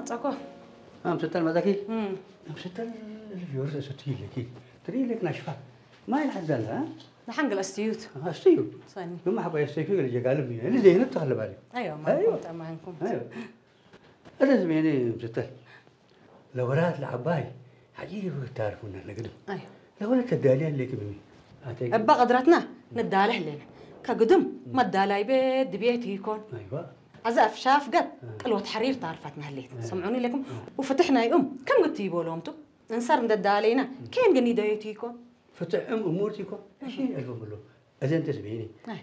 ጸኮ። ኣምስተል መጻኪ? እም። ኣምስተል ፊዮርስ እሱ ትይለኪ። ትይለክ ናሽፋ። ማይ ሓዛላ? ንሓንግል ኣስትዩት። ኣስትዩ። ሰኒ። ብማ ሓባይ ኣስተይኩ ገለ ጀጋልም እዩ። እዚ ዘይነት ተኸለባሊ። ኣዮ፣ ኣዮ። ማንኩም፣ ጠማንኩም። ኣዮ። እዚ ዝሜኒ ኣምስተል። ለወራት ለዓባይ። ሓጂ ይብታርፉና ለግድም። ኣዮ። ለወለት ተዳልያ ለክ ብኒ። ኣተይ እባ ቀድራትና ነዳለ ህሌና። ከግድም መዳላይ ቤት ድቤት ይኮን። ኣይዋ። ኣዛ ኣፍሻፍ ገብ እ። ቅልወት ሓሪር ታርፋትና ህሌት። እ። ሰምዑኒ ለኩም። እ። ውፍትሕ ናይ እም ከም ግት ይበሎምቱ። እንሳር እንደዳለይና ኬን ግን ይደዮት ይኮን። ፍትሕ እም እሙርት ይኮን። እሺ፣ እልፎም ብሎ። እዚ እንተስ ብሄኒ። ኣይ።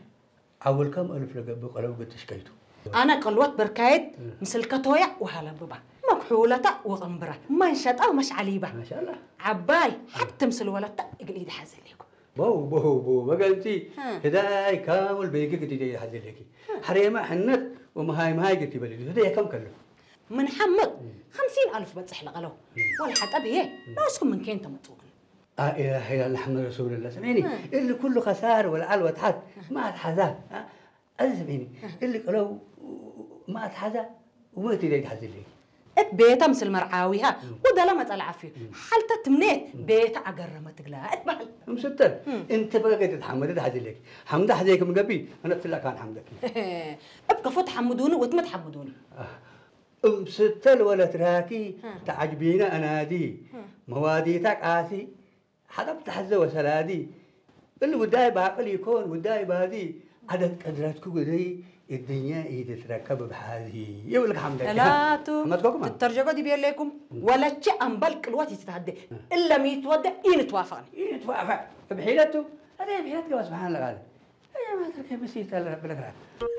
ዓወልካም ኣልፍ ለገብእ ቀለው ገትሽ ከይቱ። ኣነ ቅልወት በርካየት እ። ምስል ከቶያ ወሃለብባ። መክሑለታ ወቕንብራ። ማንሸጣ ወመሽዓሊባ። ማሻአላህ። ዓባይ ሓብት ምስል ወለታ እግል ኢድ ሓዘሌኩ። በው፣ በው፣ በው፣ መገንቲ እ። ህዳይ ካሙል በይግ ግዲ ደይ ሓዘሌኪ። እ። ሓሬማ ሕነት ወመሃይ መሃይ ግዲ በልዩ። ህዳይ ከም ከሉ። ምን ሓመድ እ። ኸምሲን ኣልፍ በጽሕ ለቐለው። እ። ወላ ሓጠብ እየ። እ። ናስኩም ምን ኬን ተመጽኡን። لا إله إلا الله محمد رسول الله سمعني ها. اللي كله خسار والعلوة تحت ما تحذاه ها. هذا سمعني اللي قالوا ما تحذى وما تريد تحذى لي እት ቤታ ምስል መርዓዊሃ እም። ወደላ መጸላ ዓፍዩ እም። ሓልተ ትምኔት እም። ቤታ ኣገረመ ትግላ እትበሃል እምስተል እም። እንተ በገ ትትሓመድ ትሓዝለኪ ሓምዳ ሓዘይክ ምገቢ ኣነ ትላ ካን ሓምደኪ እብ ከፎ ትሓምዱኒ ወትመ ትሓምዱኒ እምስተል ወለት ራኪ እ። ተዓጅቢና ኣናዲ እ። መዋዲታ ቃሲ ሓጠብ ተሕዘ ወሰላዲ እሊ ጉዳይ ባቅል ይኮን ጉዳይ ባዚ ዓደት ቀድረትኩ ግደይ እድኛ ኢትትረከብ ብሓዚ ይብል ሓምደኪ እላቱ ሓመድኮ ከማን ትተርጀጎ ዲብ የለይኩም ወለቼ ኣምባል ቅልወት ይትታደ እለ ሚትወደ ኢንትዋፈቅ ኢንትዋፈቅ ብሒለቱ ኣደ ብሒለት ገባ ስብሓን ለቃለ ኣያ ማተርከ ብስ ይተለ ብለክራ